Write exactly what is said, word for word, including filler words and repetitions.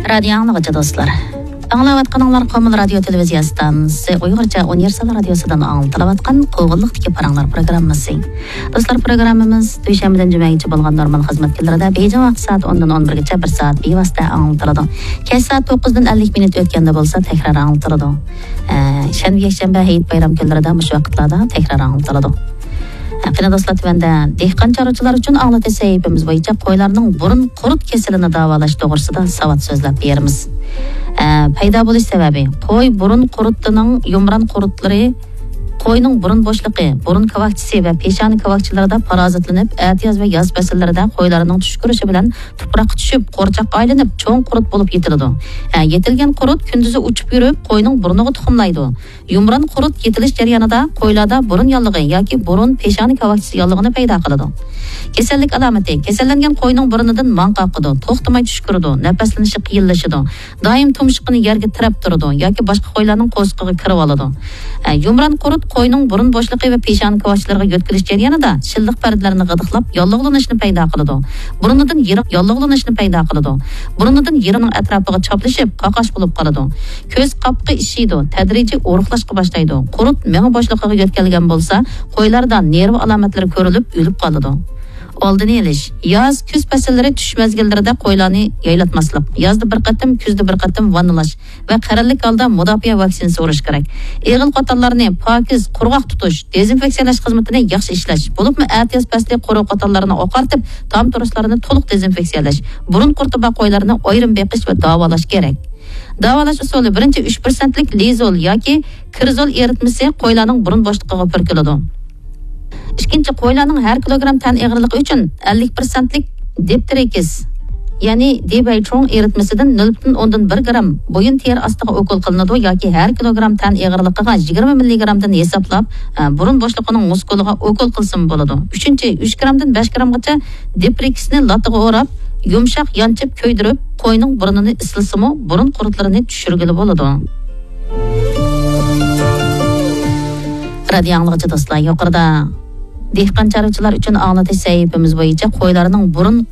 رادىيو ئاڭلىغۇچى دوستلار، ئاڭلاۋاتقىنىڭلار قومۇل رادىيو تېلېۋىزىيە ئىستانسىسى ئۇيغۇرچە ئۇنىۋېرسال رادىيوسىدىن ئاڭلىتىلىۋاتقان قوغۇنلۇقتىكى پاراڭلار پروگراممىسى. دوستلار، پروگراممىمىز دۈشەنبىدىن جۈمەگىچە بولغان نورمال خىزمەت كۈنلىرىدە بېيجىڭ ۋاقتى سائەت ئوندىن ئون بىرگىچە بىر سائەت بىۋاسىتە ئاڭلىتىلىدۇ. كەچ سائەت توققۇزدىن ئەللىك مىنۇت ئۆتكەندە بولسا تەكرار ئاڭلىتىلىدۇ. ئە، شەنبە، يەكشەنبە، ھېيت بايرام كۈنلىرىدە مۇشۇ ۋاقىتلاردا تەكرار ئاڭلىتىلىدۇ. قېنى دوستلار، تۆۋەندە دېھقان چارۋىچىلار ئۈچۈن ئاڭلىتىش سەھىپىمىز بويىچە قويلارنىڭ بۇرۇن قۇرت كېسىلىنى داۋالاش توغرىسىدا ساۋات سۆزلەپ بېرىمىز. ئە، پەيدا بولۇش سەۋەبى: قوي بۇرۇن قۇرتىنىڭ يۇمران قۇرتلىرى قوينىڭ بۇرۇن بوشلۇقى، بۇرۇن كاۋاكچىسى ۋە پېشانە كاۋاكچىلىرىدا پارازىتلىنىپ، ئەتىياز ۋە ياز پەسىللىرىدە قويلارنىڭ چۈشكۈرۈشى بىلەن تۇپراققا چۈشۈپ، قورچاققا ئايلىنىپ، چوڭ قۇرت بولۇپ يېتىلىدۇ. ئە، يېتىلگەن قۇرت كۈندۈزى ئۇچۇپ يۈرۈپ، قوينىڭ بۇرنىغا تۇخۇملايدۇ. يۇمران قۇرت يېتىلىش جەريانىدا قويلاردا بۇرۇن ياللۇغى ياكى بۇرۇن پېشانە كاۋاكچىسى ياللۇغىنى پەيدا قىلىدۇ. كېسەللىك ئالامىتى: كېسەللەنگەن قوينىڭ بۇرنىدىن ماڭ قاقىدۇ، توختىماي چۈشكۈرىدۇ، نەپەسلىنىشى قىيىنلىشىدۇ، دائىم تۇمشۇقىنى يەرگە تىرەپ تۇرىدۇ ياكى باشقا قويلارنىڭ قورسىقىغا كىرىۋالىدۇ. ئە، يۇمران قۇرت قوينىڭ بۇرۇن بوشلۇقى ۋە پېشانە كاۋاكچىلىرىغا يۆتكىلىش جەريانىدا شىللىق پەردىلەرنى غىدىقلاپ، ياللۇغلىنىشنى پەيدا قىلىدۇ. بۇرنىدىن يىرىڭ ياللۇغلىنىشنى پەيدا قىلىدۇ. بۇرنىدىن يىرىڭنىڭ ئەتراپىغا چاپلىشىپ، قاقاش بولۇپ قالىدۇ. كۆز قاپىقى ئىششىيدۇ، تەدرىجىي ئورۇقلاشقا باشلايدۇ. قۇرت مېڭە بوشلۇقىغا يۆتكەلگەن بولسا، قويلاردا نېرۋا ئالامەتلىرى كۆرۈلۈپ، ئۆلۈپ قالىدۇ. ئالدىنى ئېلىش. ياز، كۈز پەسىللىرى چۈش مەزگىللىرىدە قويلارنى يايلاتماسلىق. يازدا بىر قېتىم، كۈزدە بىر قېتىم ۋاننىلاش ۋە قەرەللىك ھالدا مۇداپىئە ۋاكسىنىسى ئۇرۇش كېرەك. ئېغىل قوتانلارنى پاكىز، قۇرغاق تۇتۇش، دېزىنفېكسىيەلەش خىزمىتىنى ياخشى ئىشلەش، بولۇپمۇ ئەتىياز پەسلى قورۇ قوتانلارنى ئاقارتىپ، تام تۇرۇشلارنى تولۇق دېزىنفېكسىيەلەش، بۇرۇن قۇرتى بار قويلارنى ئايرىم بېقىش ۋە داۋالاش كېرەك. داۋالاش ئۇسۇلى: بىرىنچى، ئۈچ پىرسەنتلىك لىزول ياكى كىرزول ئېرىتمىسى قويلارنىڭ بۇرۇن بوشلۇقىغا پۈركىلىدۇ. ئىككىنچى، قويلارنىڭ ھەر كىلوگرام تەن ئېغىرلىقى ئۈچۈن ئەللىك پىرسەنتلىك دىپتېرىكس، يەنى دىبەيچۇڭ ئېرىتمىسىدىن نۆل پۈتۈن ئوندىن بىر گرام بويۇن تېرە ئاستىغا ئوكۇل قىلىنىدۇ ياكى ھەر كىلوگرام تەن ئېغىرلىقىغا يىگىرمە مىللىگرامدىن ھېسابلاپ، ئە، بۇرۇن بوشلۇقىنىڭ مۇسكۇلىغا ئوكۇل قىلسىمۇ بولىدۇ. ئۈچىنچى، ئۈچ گرامدىن بەش گرامغىچە دىپرېكسنى لاتىغا ئوراپ، يۇمشاق يانچىپ كۆيدۈرۈپ، قوينىڭ بۇرنىنى ئىسلىسىمۇ، بۇرۇن قۇرتلىرىنى چۈشۈرگىلى بولىدۇ. رادىيو ئاڭلىغۇچى دوستلار، يۇقىرىدا دېھقان چارۋىچىلار ئۈچۈن ئاڭلىتىش سەھىپىمىز بويىچە قويلارنىڭ بۇرۇن